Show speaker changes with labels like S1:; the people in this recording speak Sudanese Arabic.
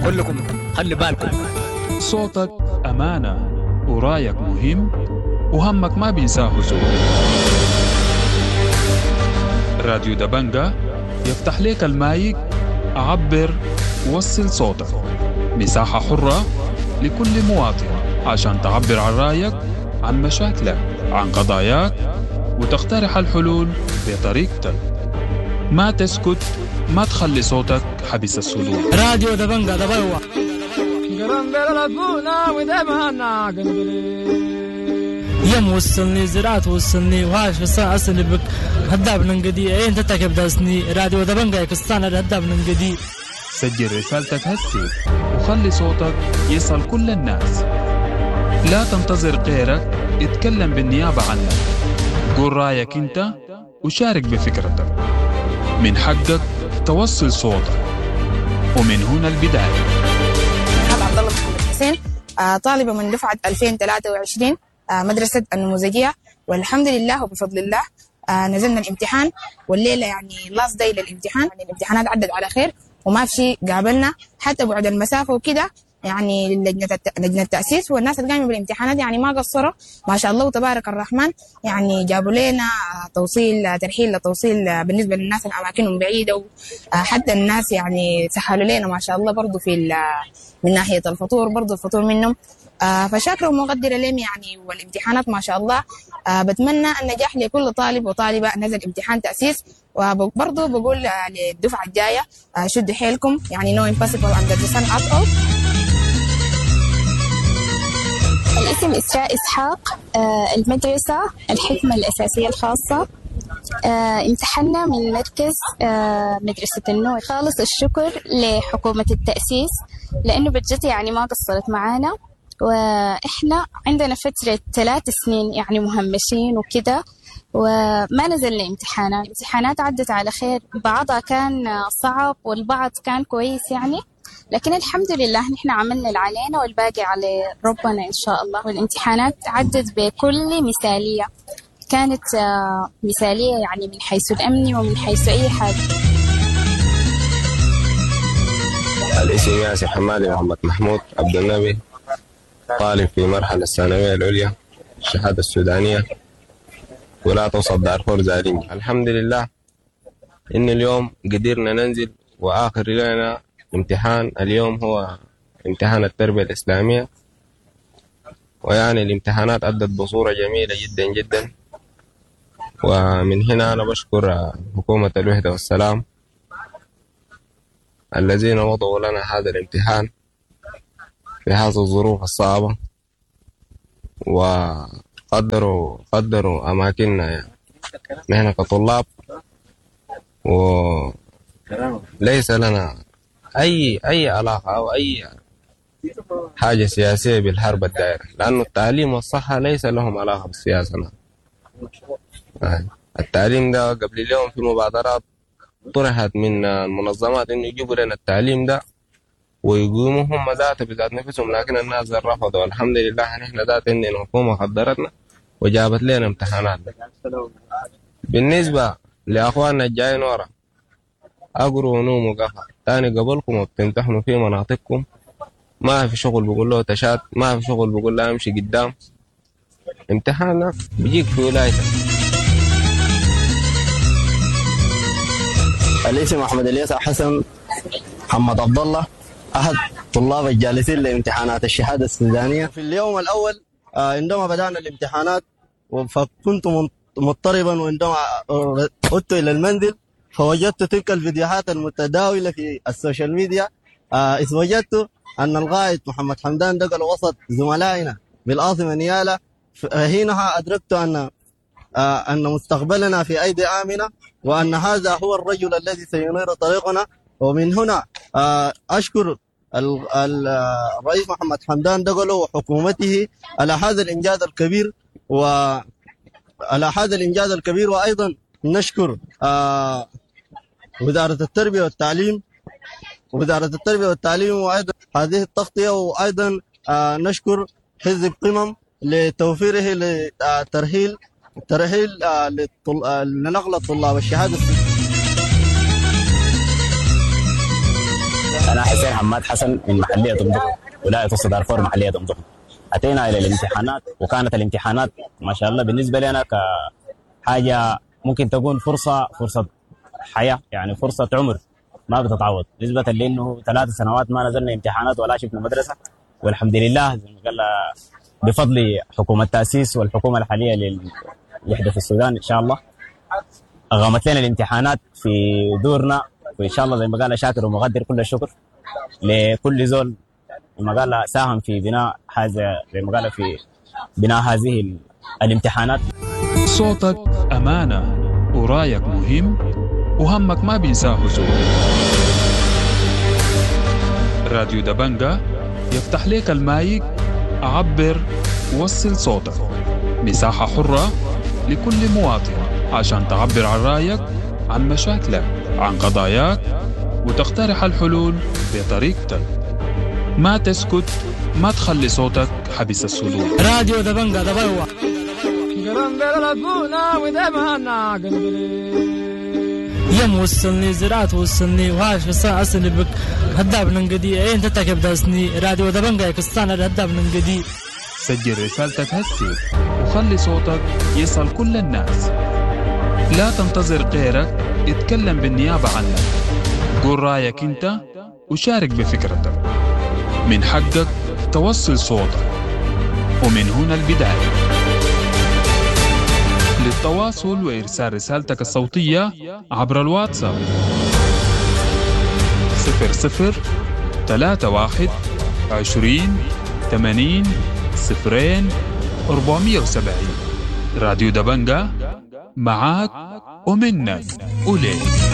S1: كلكم خلي بالكم.
S2: صوتك أمانة ورايك مهم وهمك ما بينساه زول. راديو دبنجة يفتح لك المايك، عبر، وصل صوتك. مساحة حرة لكل مواطن عشان تعبر عن رأيك، عن مشاكلك، عن قضاياك، وتقترح الحلول بطريقتك. ما تسكت، ما تخلي صوتك حبس الصدور.
S3: راديو دبنجة دبلوة. يم وصلني زراعة وصلني وهاش بس أصلي بك هداب ننقدي إيه أنت تكب داسني راديو دبنجة كستان هداب ننقدي.
S2: سجل رسالتك هسي وخلي صوتك يصل كل الناس. لا تنتظر غيرك يتكلم بالنيابة عنك. قول رايك انت وشارك بفكرتك. من حقك توصل صوتك، ومن هنا البداية.
S4: عبد الله محمد حسين، طالبة من دفعة 2023، مدرسة النموذجية، والحمد لله وبفضل الله نزلنا الامتحان، والليلة يعني last day للامتحان. يعني الامتحانات عدت على خير وما في شيء قابلنا حتى بعد المسافة وكده. يعني لجنة التأسيس والناس اللي قاموا بالامتحانات يعني ما قصروا ما شاء الله وتبارك الرحمن. يعني جابوا لنا توصيل، ترحيل لتوصيل بالنسبة للناس اللي أماكنهم بعيدة، وحتى الناس يعني سهلوا لنا ما شاء الله برضو في من ناحية الفطور، برضو الفطور منهم. فشاكرة ومقدرة لهم يعني. والامتحانات ما شاء الله، بتمنى النجاح لكل طالب وطالبة نزل امتحان تأسيس. وبرضو بقول للدفعة الجاية شدوا حيلكم، يعني no impossible under the sun at all.
S5: الاسم إسراء إسحاق، المدرسة الحكمة الأساسية الخاصة. امتحنا من مركز مدرسة النور. خالص الشكر لحكومة التأسيس لأنه بجد يعني ما قصرت معانا، وإحنا عندنا فترة 3 سنين يعني مهمشين وكده، وما نزلنا امتحانات. امتحانات عدت على خير، بعضها كان صعب والبعض كان كويس يعني، لكن الحمد لله نحن عملنا اللي علينا والباقي على ربنا إن شاء الله. والامتحانات عدت بكل مثالية، كانت مثالية يعني من حيث الأمن ومن حيث أي حاجة.
S6: الاسم ياسر حمادي محمد محمود عبد النبي، طالب في مرحلة الثانوية العليا الشهادة السودانية، ولا توصل دارفور زارين. الحمد لله إن اليوم قدرنا ننزل، وآخر لنا امتحان اليوم هو امتحان التربية الإسلامية، ويعني الامتحانات أدت بصورة جميلة جدا جدا. ومن هنا أنا بشكر حكومة الوحدة والسلام الذين وضعوا لنا هذا الامتحان في هذه الظروف الصعبة، وقدروا أماكننا يعني. نحن كطلاب وليس لنا أي علاقة أو أي حاجة سياسية بالحرب الدائرة، لأن التعليم والصحة ليس لهم علاقة بالسياسة. التعليم ده قبل اليوم في مبادرات طرحت من المنظمات إنه يجيبوا لنا التعليم ده ويقوموا هم ذاته بذات نفسهم، لكن الناس رفضوا. الحمد لله نحن ذات إن الحكومة قدرتنا وجابت لنا امتحانات. بالنسبة لأخواننا الجايين ورا، أقروا ونوموا قفا تاني قبلكم وبتمتحنوا في مناطقكم. ما في شغل بقول له تشات، ما في شغل بقول له امشي قدام. امتحانك بيجيك في ولايتك.
S7: الاسم أحمد الياس حسن محمد عبد الله، أحد طلاب الجالسين لامتحانات الشهادة السودانية. في اليوم الأول عندما بدأنا الامتحانات فكنت مضطربا، وعندما عدت إلى المنزل فوجدت تلك الفيديوهات المتداولة في ال social media. إذ وجدت أن القائد محمد حمدان دقل وسط زملائنا بالعاصمة نيالا. حينها أدركت أن مستقبلنا في أيدي آمنة، وأن هذا هو الرجل الذي سينير طريقنا. ومن هنا أشكر الرئيس محمد حمدان دقلو وحكومته على هذا الإنجاز الكبير، وعلى هذا الإنجاز الكبير. وأيضا نشكر وزارة التربية والتعليم، وأيضا هذه التغطية. وأيضا نشكر حزب قمم لتوفيره لترحيل لنقل الطلاب الشهادة.
S1: أنا حسين حماد حسن من محلية أم دحو، ولاية وسط دارفور، محلية أم دحو. أتينا إلى الامتحانات، وكانت الامتحانات ما شاء الله بالنسبة لنا كحاجة ممكن تكون فرصة حياة، يعني فرصة عمر ما بتتعوض، نسبة لأنه 3 سنوات ما نزلنا امتحانات ولا شفنا مدرسة. والحمد لله زي ما قال بفضل حكومة التأسيس والحكومة الحالية للوحدة في السودان، إن شاء الله أقامت لنا الامتحانات في دورنا. وإن شاء الله زي ما قال شاكر ومقدر كل الشكر لكل زول زي ما قال ساهم في بناء هذا، زي ما قال في بناء هذه الامتحانات.
S2: صوتك أمانة، ورايك مهم، وهمك ما بينساه زول. راديو دبنجة يفتح لك المايك، عبر، وصل صوتك. مساحة حرة لكل مواطن عشان تعبر عن رأيك، عن مشاكلك، عن قضاياك، وتقترح الحلول بطريقتك. ما تسكت، ما تخلي صوتك حبس الصدور.
S3: راديو دبنجة دبيوة. يم وصلني زراعة وصلني وهاش في السنة أصلي بك هداب ننقدي ايه انت تكب داسني راديو دبنجة كستانا هداب ننقدي.
S2: سجل رسالتك هسي وخلي صوتك يصل كل الناس. لا تنتظر غيرك يتكلم بالنيابة عنك. قول رايك انت وشارك بفكرتك. من حقك توصل صوتك، ومن هنا البداية. للتواصل وإرسال رسالتك الصوتية عبر الواتساب: 00 31 20 80 00 470. راديو دبنجة معاك ومنك وليك.